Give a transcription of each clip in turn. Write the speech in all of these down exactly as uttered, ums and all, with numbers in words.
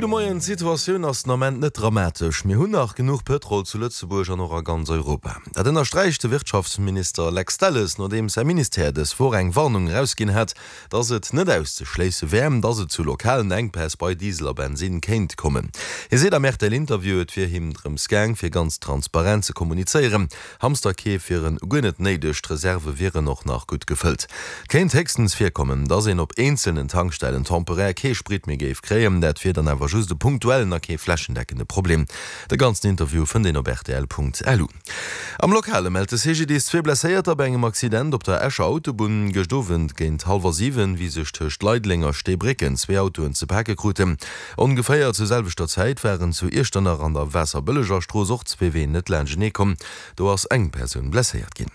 Gudde Moien, D'Situatioun ass den Ament net dramatesch. Mir hunn nach genuch Pëtrol zu Lëtzebuerg an och a ganz Europa. Dat ënnersträicht de Wirtschaftsminister Lex Delles, nodeems säi Ministère dës Woch eng Warnung erausginn hat, datt et net auszeschléisse wär, datt et zu lokalen Enkpäss bei Diesel a Bensinn kéint kommen. Hie seet am RTL-Interview, et wier him drëms gaang, fir ganz transparent ze kommunizéieren. Hamsterkeef wieren guer net néideg, d'Reserve wieren och nach gutt gefëllt. Et kéint héchstens virkommen, datt een op eenzelnen Tankstellen temporär kee Sprit méi géif kréien. Dat wier dann awer just e punktuellen a kee flächendeckende Problem. De ganzen Interview fënnt een op rtl.lu. Am Lokale mellt de C G D I S zwee Blesséierter bei engem Accident op der Escher Autobunn gëscht Owend géint hallwer siwen, wéi sech tëscht Leideleng a Steebrécken zwee Autoen ze pake kruten. Ongeféier zur selwechter Zäit waren zu Iechternach an der Waasserbëlleger Strooss och zwee Ween net laanschtenee komm. Do ass eng Persoun blesséiert ginn.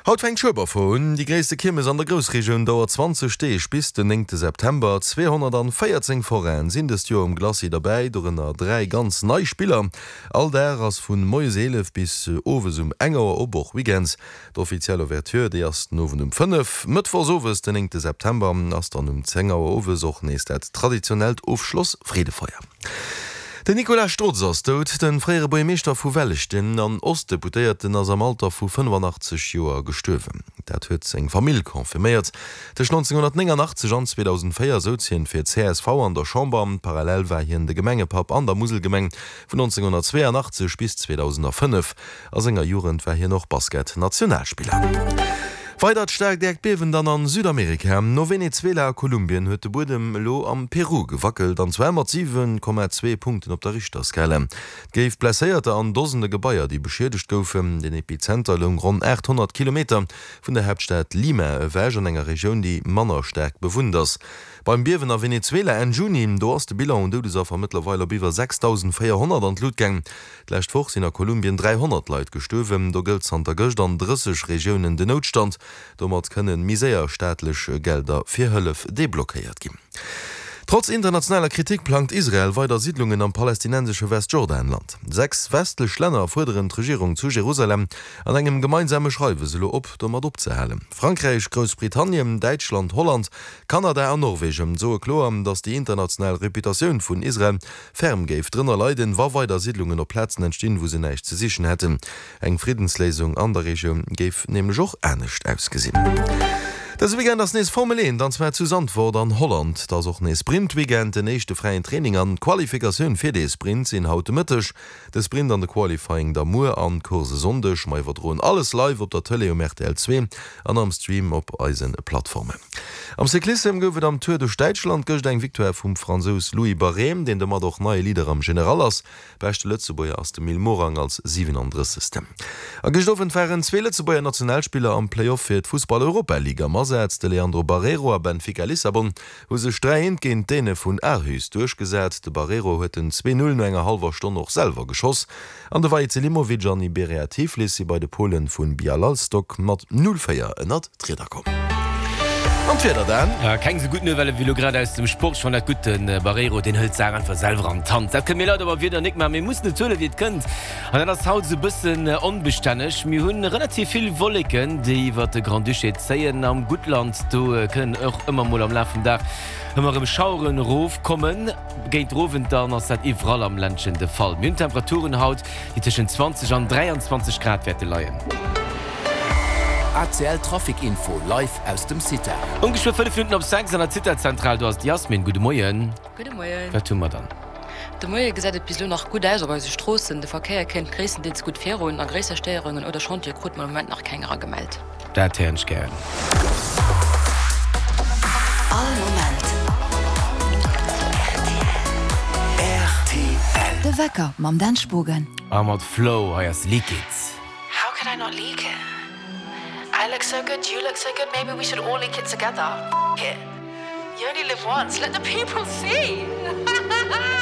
Haut fänkt d'Schueberfoire un. Déi gréisste Kiermes an der Groussregioun dauert zwanzeg Deeg bis den néngte September. zweehonnertvéierzéng Forainen sinn dëst Joer um Glacis derbäi, dorënner dräi ganz nei Spiller. All Dag ass vu moies eelef bis owes um eng Auer op, och weekends. D'offiziell Ouverture, déi ass den Owend um fënnef. Mëttwochs owes, den néngte September, ass dann um zéng Auer owes och nees dat traditionellt Ofschloss-Freedefeier. Den Nicolas Strotz ass dout. De fréiere Buergermeeschter vu Welleschten an Ostdeputéierten ass am Alter vu fënnefanachtzeg Joer gestuerwen. Dat huet seng Famill confirméiert. Tëscht nonzénghonnertnénganachtzeg an zweedausendvéier souz hien fir d'C S V an der Chamber. Parallel war hien de Gemengepapp an der Muselgemeng vun nonzénghonnertzweeanachtzeg bis zweedausendfënnef. A senger Jugend war hien och Basket-Nationalspiller. Weidert staarkt Äerdbiewen dann an Südamerika. No Venezuela a Kolumbien huet de Buedem elo am Peru gewackelt, an zwar mat siwen Komma zwee Punkten op der Richterskala. Et géif Blesséierter an Dosende Gebaier, déi beschiedegt goufen. Den Epizenter loung ronn achthonnert Kilometer vun der Haaptstad Lima ewech, an enger Regioun, déi manner staark bewunnt ass. Beim Biewen a Venezuela Enn Juni, do ass de Bilan un Doudesaffer mëttlerweil op iwwer sechsdausendvéierhonnert an d'Lut gaang. D'lescht Woch sinn a Kolumbien dräihonnert Leit gestuerwen. Do gëllt zanter gëscht an drësseg Regiounen den Noutstand. Domat kënne méi séier staatlech Gelder fir Hëllef deblockéiert ginn. Trotz internationaler Kritik plangt Israel weider Siidlungen am palästinensesche Westjordanland. Sechs westlech Länner fuerderen d'Regierung zu Jerusalem an engem gemeinsame Schreiwes elo op, domat opzehalen. Frankräich, Groussbritannien, Däitschland, Holland, Kanada an Norwegen soe kloer, datt déi international Reputatioun vun Israel ferm géif drënner leiden, wa weider Siidlungen op Plazen entstinn, wou se näischt ze sichen hätten. Eng Friddensléisung an der Regioun géif nämlech och anescht ausgesinn. Dëse Weekend ass nees Formel eent, an zwar zu Zandvoort an Holland. Et ass och nees Sprint-Weekend. Den éischte fräien Training an d'Qualifikatioun fir de Sprint sinn haut de Mëtteg. De Sprint an de Qualifying da muer an d'Course e Sonndeg. Mer iwwerdroen alles live op der Tëlee um R T L zwee an am Stream op eise Plattformen. Am Cyclissem gouf et am Tour duerch Däitschland gëscht eng Victoire vum Fransous Louis Barré, deen domat och neie Leader am General ass. Beschte Lëtzebuerger ass de Mil Morang als siwenandrëssegsten. A gëscht Owend waren zwee Lëtzebuerger Nationalspiller am Play-off fir d'Fussball-Europa-Ligue am Asaz. De Leandro Barreiro a Benfica Lissabon hu sech dräi eent géint d'Däne vun Aarhus duerchgesat. De Barreiro huet den zwee null no enger hallwer Stonn och selwer geschoss. An de Vahid Selimovic an Iberia Tiflis si bei de Pole vu Bialystok mat null véier ënnert d'Rieder komm. An d'Wieder dann? Ja, keng sou gutt Nouvelle wéi lo grad aus dem Sport. Ech fannen dat gutt, den Barreiro, deen hëlt d'Saach einfach selwer an d'Hand. Dat kënne mir leider beim Wieder nik maachen, mir mussen et huelen, wéi et kënnt. An dat ass haut sou e bëssen onbestänneg. Mir hunn relativ vill Wolleken, déi iwwert de Grand-Duché zéien. Am Guttland, do kënnen och ëmmer mol am Laf vum Dag ëmmer erëm Schaueren erofkommen. Géint den Owend dann ass dat iwwerall am Ländchen de Fall. Mir hunn Temperaturen haut, déi tëschent zwanzeg an dräianzwanzeg Grad wäerte leien. A C L Trafic Info live aus dem Cita. Ongeféier fënnef Minutten op sechs an der Zitazentral, do ass d'Yasmin. Gudde Moien. Gudde Moien. Wat hu mer dann? De Moie gesäit et bis elo nach gutt aus op eise Stroossen. De Verkéier kënnt gréisstendeels gutt virun a gréisser Stéierungen oder Chantiere krute mer am Moment nach keng eragemellt. Dat héieren ech gären. All Moment R T L. De Wecker mam Dan Spogen. A mat Flow, hei ass Leak It. How could I not leak it? I look so good, you look so good, maybe we should all leak it together. F it. You only live once, let the people see.